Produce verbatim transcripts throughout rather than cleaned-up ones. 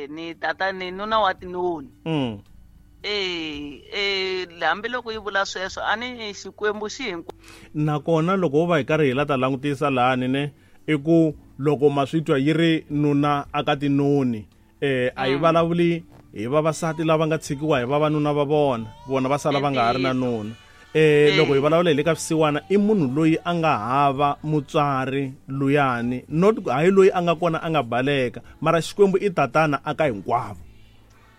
Eh ni tata ni nuna wa tinoni. Mm. Eh eh hambiloko yi vula sweswo a ni Xikwembu xi hinkwa. Nakona loko wo va hi karhi hi la ta langutisa lahani ne i ku loko ma swi twa yi ri nuna aka tinoni eh a yi vulavuli hi vavasati lava nga tshikiwa hi vavanuna va vona vona va sala va nga ha ri na nuna. Eh loko hi vulavula hi le ka swisiwana i munhu loyi a nga hava mutswari luyani not hayi loyi a nga kona a nga baleka mara Xikwembu i tatana aka hinkwavo.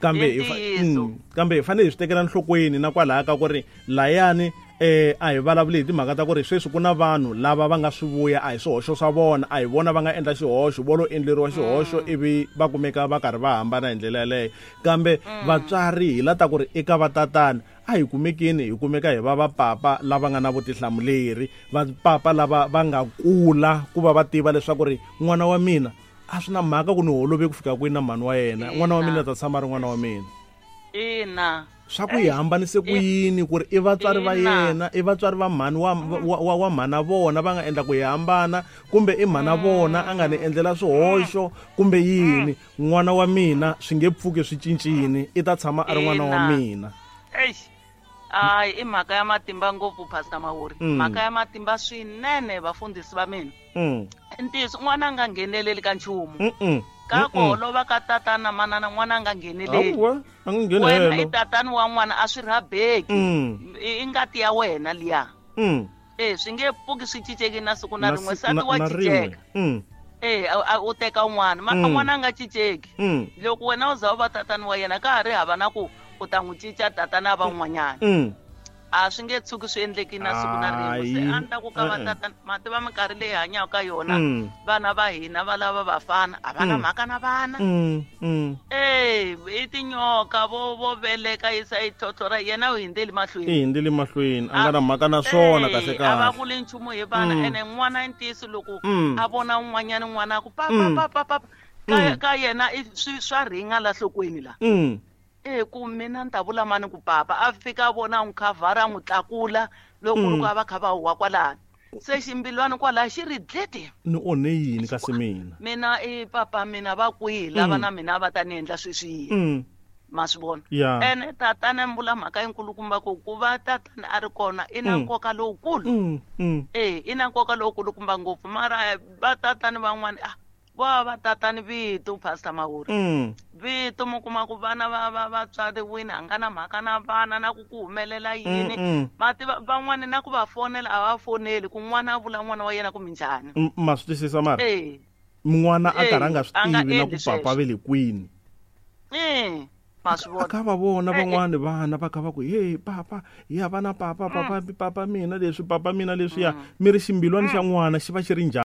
Kambe hi mm, kambe hi fanele hi swi tekela nhlokweni na kwalaya ka ku ri layani eh a hi vulavuli hi timhaka ta ku ri sweswi ku na vanhu lava va nga swi vuya a hi swihoxo swa vona a hi vona va nga endla xihoxo vo lo endleriwa xihoxo ivi va kumeka va karhi va hambana hi ndlela yaleyo kambe vatswari hi la ta ku ri eka vatatana a hi kumekeni hi kumeka hi va vapapa lava nga na vutihlamuleri vapapa lava va nga kula ku va va tiva leswaku ri n'wana wa mina a swi na mhaka ku ni holove ku fika kwini na mhani wa yena n'wana wa mina ta tshama ri n'wana wa mina. Ina swa ku hi hambanise ku yini ku ri i vatswari va yena i vatswari va mhani wa wa wa mhana vona va nga endla ku hi hambana kumbe i mhana vona a nga ni endlela swihoxo kumbe yini n'wana wa mina swi nge pfuki swi cincini i ta tshama a ri n'wana wa mina. Eish ai i mhaka ya matimba ngopfu Pastor Mawuri mhaka ya matimba swinene vafundhisi va mina. Ntiyiso n'wana a nga ngheneleli ka nchumu ka ku holova ka tatana manana n'wana a nga ngheneleli wena i tatana wa n'wana a swi rhabeki i ngati ya wena liya e swi nge pfuki swi cinceki na siku na rin'we nsati wa cinceka e u teka n'wana mara n'wana a nga cinceki loko wena u za u va tatana wa yena ka ha ri hava na ku u ta n'wi cinca tatana va n'wanyana a swi nge tshuki swi endleki na siku na rin'we se a ni ta ku ka va tatana ma tiva minkarhi leyi hanyaka ka yona vana va hina va lava vafana a va na mhaka na vana e i tinyoka vo vo veleka yisa yi tlhotlhora yena u hindzeli mahlweni i hindzeli mahlweni a nga na mhaka na swona kahle kahle a va vuli nchumu hi vana ene n'wana i ntiyiso loko a vona un'wanyana n'wana a ku papa papa papa ka ka yena i swi swa ringa la nhlokweni la e ku mina ni ta vula mani ku papa a fika a vona n'wi khavhara a n'wi tlakula loko loko a va kha va huwa kwalano se ximbilwani kwalaya xi ri dlete ni onhe yini kasi mina mina i papa mina va kwihi lava na mina va ta ni endla sweswiya ma swi vona ene tatana mi vula mhaka yinkulukumba ku ku va tatana a ri kona i na nkoka lowukulu e i na nkoka lowukulukumba ngopfu mara va tatana van'wani a va va tatani vito Pastor Mawuri vito mi kuma ku vana va va vatswariwini a nga na mhaka na vana na ku ku humelela yini ma tiva van'wani na ku va fonela a va foneli ku n'wana a vula n'wana wa yena ku minjhani ma swi twisisa mara e n'wana a karhi a nga swi tivi na ku papa ve le kwini e ma swi vona ka va vona van'wani vana va kha va ku hey papa ya vana papa papa papa mina leswi papa mina leswiya mi ri ximbilwani xa n'wana xi va xi ri njhani.